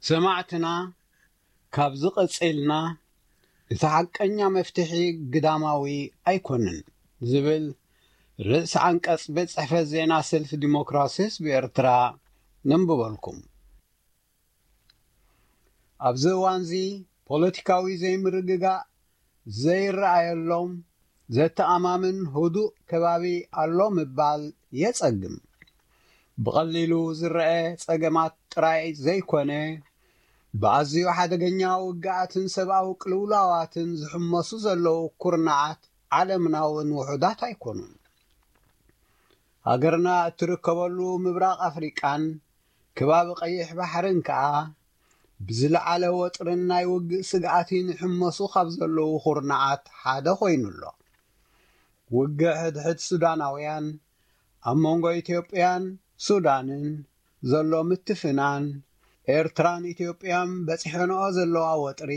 ሰማዕትና፣ ካብዚ ቀጺልና እቲ ሓቀኛ መፍትሒ ግዳማዊ ኣይኮነን ዝብል ርእሲ ዓንቀጽ ቤት ጽሕፈት ዜና ሰልፊ ዲሞክራሲ ህዝቢ ኤርትራ ነንብበልኩም። ኣብዚ እዋንዚ ፖለቲካዊ ዘይምርግጋእ ዘይረኣየሎም ዘተኣማምን ህዱእ ከባቢ ኣሎ ምባል የጸግም። ብቐሊሉ ዝረአ ጸገማት ጥራይ ዘይኮነ፣ ብኣዝዩ ሓደገኛ ውግኣትን ሰብኣዊ ቅልውላዋትን ዝሕመሱ ዘለዉ ኩርናዓት ዓለምና እውን ውሑዳት ኣይኮኑን። ሃገርና እትርከበሉ ምብራቕ ኣፍሪቃን ከባቢ ቀይሕ ባሕርን ከኣ ብዝለዓለ ወጥርን ናይ ውግእ ስግኣትን ይሕመሱ ካብ ዘለዉ ኩርናዓት ሓደ ኮይኑ ኣሎ። ውግእ ሕድሕድ ሱዳናውያን፣ ኣብ መንጎ ኢትዮጵያን ሱዳንን ዘሎ ምትፍናን፣ ኤርትራን ኢትዮጵያን በጺሐንኦ ዘለዋ ወጥሪ፣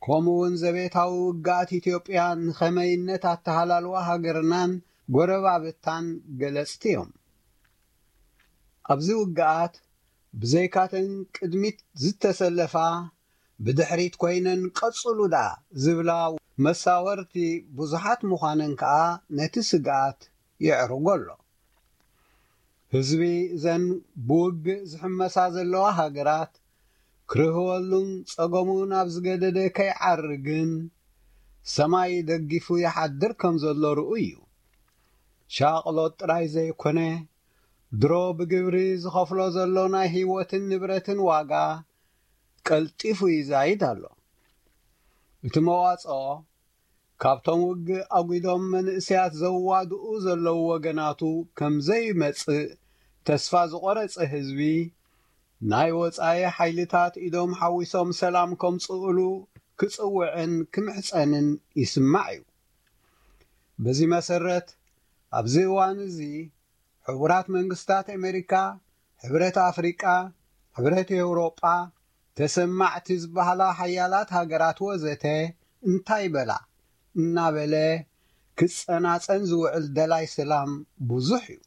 ከምኡ እውን ዘቤታዊ ውግኣት ኢትዮጵያ ንኸመይነት ኣተሃላልዋ ሃገርናን ጎረባብታን ገለጽቲ እዮም። ኣብዚ ውግኣት ብዘይካተን ቅድሚት ዝተሰለፋ፣ ብድሕሪት ኮይነን ቀጽሉ ደኣ ዝብላ መሳወርቲ ብዙሓት ምዃነን ከኣ ነቲ ስግኣት የዕርጎ ኣሎ። ህዝቢ እዘን ብውግእ ዝሕመሳ ዘለዋ ሃገራት ክርህወሉን ጸገሙ ናብ ዝገደደ ከይዓርግን ሰማይ ደጊፉ ይሓድር ከም ዘሎ ርኡይ እዩ። ሻቕሎት ጥራይ ዘይኮነ፣ ድሮ ብግብሪ ዝኸፍሎ ዘሎ ናይ ህይወትን ንብረትን ዋጋ ቀልጢፉ ይዛይድ ኣሎ። እቲ መዋጽኦ ካብቶም ውግእ ኣጒዶም መንእሰያት ዘዋድኡ ዘለዉ ወገናቱ ከም ዘይመጽእ ተስፋ ዝቖረጸ ህዝቢ፣ ናይ ወጻኢ ሓይልታት ኢዶም ሓዊሶም ሰላም ከምጽእሉ ክጽውዕን ክምሕጸንን ይስማዕ እዩ። በዚ መሰረት፣ ኣብዚ እዋን እዚ ሕቡራት መንግስታት ኣሜሪካ፣ ሕብረት ኣፍሪቃ፣ ሕብረት ኤውሮጳ፣ ተሰማዕቲ ዝበሃላ ሓያላት ሃገራት ወዘተ እንታይ በላ እናበለ ክጸናጸን ዝውዕል ደላይ ሰላም ብዙሕ እዩ።